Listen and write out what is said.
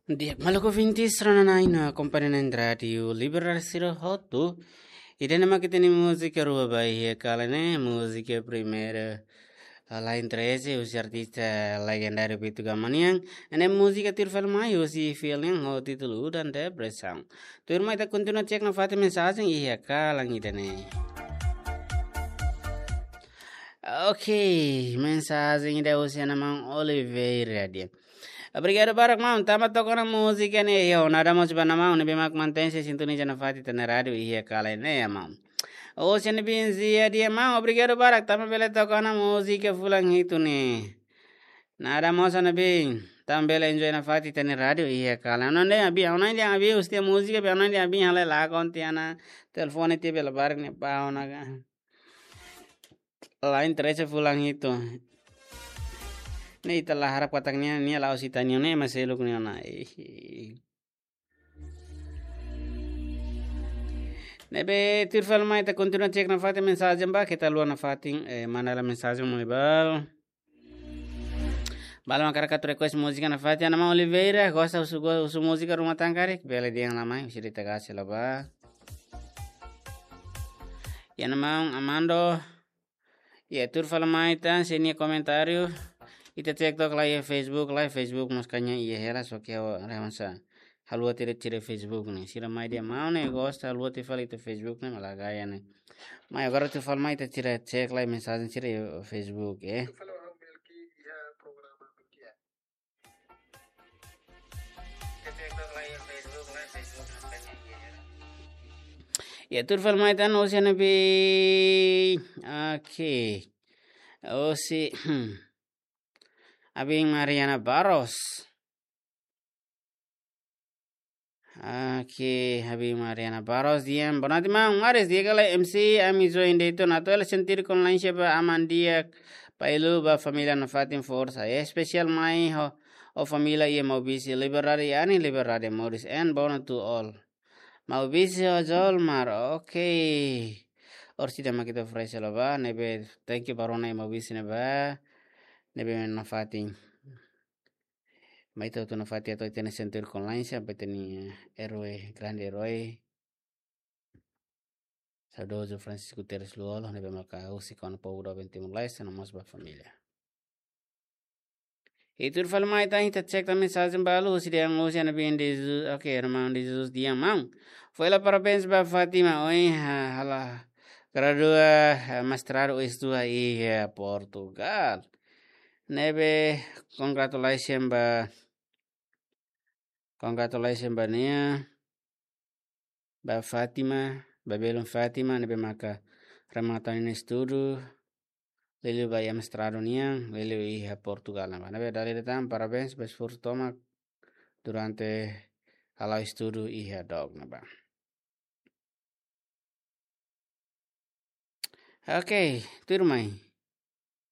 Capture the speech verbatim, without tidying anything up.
Di'ak, maluk ouvintes, rona-na'in no akompaña na'in Rádiu Liberal sira hotu. Ida-ne'e mak ita-nia múzika rua ba iha kalan ne'e, múzika primeiru, ah, Lain Treze, husi artista legendáriu Pitu Gama nian. Ne'e múzika tuir fali mai husi Feel nian ho títulu Udan Depresaun. Tuirmai ita kontinua cek nafatin mensajen iha kalan ida-ne'e. Oke, mensajen ida husi ana maun Oliveira dehan: Obrigadu barak maun, tanba toka ona múzika ne'e, ho nada mós ba ana maun ne'ebé mak mantein sei sintoniza nafatin ita-nia rádiu iha kalan ne'e, maun. Husi Ana Bin Zia dehan: Maun, obrigadu barak, tanba bele toka ona múzika fulan hitu ne'e. Nada mós Ana Bin, tanba bele enjoy nafatin ita-nia rádiu iha kalan. Ha'u-nia Ana Bin, ha'u-nia Ana Bin husi tiha múzika, be ha'u-nia Ana Bin halai lakon tiha ona telefone tiha bele barak ne'e pau na ka. Lain Treze fulan hitu. Ne'e ita la harap katak nia, nia la'ós ita-nia ne'e, mas seluk nia ona. Ih. Ne'ebé tuir fali mai ita kontinua cek nafatin mensajen ba, keta haluha nafatin, eh, manda lai mensajen mai ba. Balu mak hakarak atu request múzika nafatin, ana maun Oliveira, gosta husu, go-, husu múzika Rumah Tangga karik, bele dehan lai mai, husi Rita Garcia la ba. I ana maun Amando, i tuir fali mai ita, se nia komentáriu, ita cek took lai iha Facebook, lai Facebook mós kaña iha hela, só ke ha'u rona hanesan haluha tiha, tiha Facebook ne'e. Sira mai dehan maun ne'e gosta haluha tiha fali ita Facebook ne'e, malae gaya ne'e. Mai agora tuir fali mai ita tiha cek lai mensajen sira iha Facebook, eh. Ya, tuir fali mai ita husi Ana Bin. Oke. Husi Abin Mariana Barros. Oke, Abin Mariana Barros dehan: Boa noite, maun. Maris, di'ak ka lae, M C, ami join de'it ona. Atu hela sentidu konlainsia ba aman di'ak Pailu, ba família nafatin, forsa. Espesiál mai ho, ho família iha Maubisse, Liberdade Ani, Liberdade Moris, and boa noite to all. Maubisse ho Jolmar, oke. Orsida mak ita oferese hela ba, ne'ebé, thank you ba rona iha Maubisse ne'ebá, ne'ebé nafatin. Mai ita hotu nafatin atu hatene sentidu konlainsia ba ita-nia, eh, erói, grande erói, saudozu Francisco Guterres Lú-Olo, ne'ebé maka husik ona povu doben Timor-Leste, no mós ba família. I tuir fali mai ita, ita cek tan mensajen balu, husi dehan husi Ana Bin de Jesus, oke, irmaun de Jesus dehan: Maun, foin hela parabéns ba Fátima, ohin ha-, halo gradua, eh, mestradu, estuda iha Portugal. Ne'ebé, congratulations ba, congratulations ba nia, ba Fátima, ba belun Fátima, ne'ebé maka remata nia estudu, liuliu ba iha mestradu nian, liuliu iha Portugal ne'ebá. Ne'ebé dala ida tan, parabéns ba esforsu tomak durante hala'o estudu iha dook ne'ebá. Oke, tuirmai.